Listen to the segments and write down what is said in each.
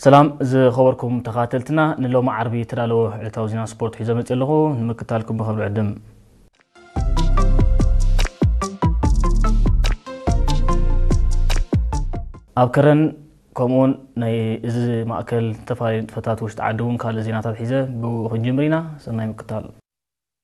ሰላም ዝኸበርኩም ተኻተልትና፣ ንሎሚ ዓርቢ እተዳለወ ዕለታዊ ዜና ስፖርት ሒዘ መፅእ ኣለኹ። ንምክታልኩም ብኸብሪ ዕድም። ኣብ ከረን ከምኡውን ናይ እዚ ማእከል ዝተፈላለዩ ንጥፈታት ውሽጢ ዓዲ እውን ካልእ ዜናታት ሒዘ ብኡ ክንጅምር ኢና። ሰናይ ምክታል።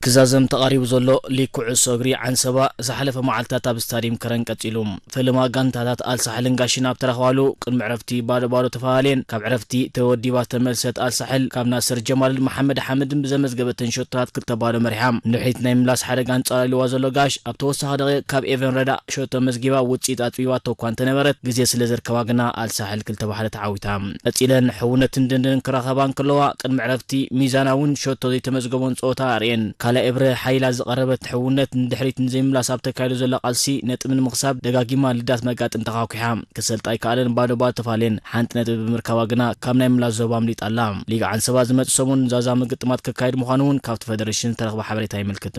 ክዛዘም ተቓሪቡ ዘሎ ሊግ ኩዕሶ እግሪ ዓንሰባ ዝሓለፈ መዓልታት ኣብ ስታዲየም ከረን ቀጺሉ። ፈለማ ጋንታታት ኣልሳሕልን ጋሽን ኣብ ተረኽባሉ ቅድሚ ዕረፍቲ ባዶ ባዶ ተፈላለየን። ካብ ዕረፍቲ ተወዲባ ዝተመልሰት ኣልሳሕል ካብ ናስር ጀማልን መሓመድ ሓምድን ብዘመዝገበተን ሸቶታት ክልተ ባዶ መሪሓ። ንድሕሪት ናይ ምላስ ሓደጋ ኣንጻር ኢልዋ ዘሎ ጋሽ ኣብ ተወሳኺ ደቂቕ ካብ ኤቨን ረዳ ሸቶ መዝጊባ ውጽኢት ኣጽቢባቶ እኳ እንተነበረት፣ ግዜ ስለ ዘርከባ ግና ኣልሳሕል ክልተ ብሓደ ተዓዊታ። ቀጺለን ሕውነትን ድንድንን ክራኸባ እንከለዋ፣ ቅድሚ ዕረፍቲ ሚዛናውን ሸቶ ዘይተመዝገቦን ጸወታ ኣርእየን። ካልኣይ እብረ ሓይላ ዝቐረበት ሕውነት ንድሕሪት ንዘይምላስ ኣብ ተካይዶ ዘላ ቃልሲ ነጥቢ ንምኽሳብ ደጋጊማ ልዳት መጋጥም ተኻኲሓ። ክሰልጣ ኣይከኣለን፣ ባዶ ባዶ ተፋልየን። ሓንቲ ነጥቢ ብምርካባ ግና ካብ ናይ ምላስ ዞባ ኣምሊጣ ኣላ። ሊግ ዓንሰባ ዝመጽእ ሰሙን ዛዛሚ ግጥማት ክካየድ ምዃኑ እውን ካብቲ ፈደረሽን ዝተረኽበ ሓበሬታ የመልክት።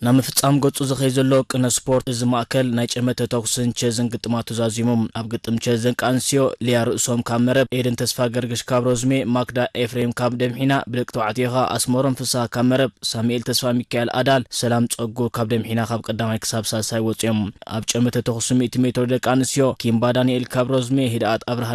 ናብ ምፍጻም ገጹ ዝኸይ ዘሎ ቅነ ስፖርት እዚ ማእከል ናይ ጨመተ ተኩስን ቸዝን ግጥማቱ ዛዚሙ። ኣብ ግጥም ቸዝ ደቂ ኣንስትዮ ሊያ ርእሶም ካብ መረብ፣ ኤደን ተስፋ ገርግሽ ካብ ሮዝሜ፣ ማክዳ ኤፍሬም ካብ ደምሒና፣ ብደቂ ተባዕትዮ ኸኣ ኣስመሮም ፍስሃ ካብ መረብ፣ ሳሙኤል ተስፋ ሚካኤል ኣዳል፣ ሰላም ጸጉ ካብ ደምሒና ካብ ቀዳማይ ክሳብ ሳልሳይ ወጺኦም። ኣብ ጨመተ ተኩስ ሚእቲ ሜትሮ ደቂ ኣንስትዮ ኪምባ ዳንኤል ካብ ሮዝሜ፣ ህድኣት ኣብርሃ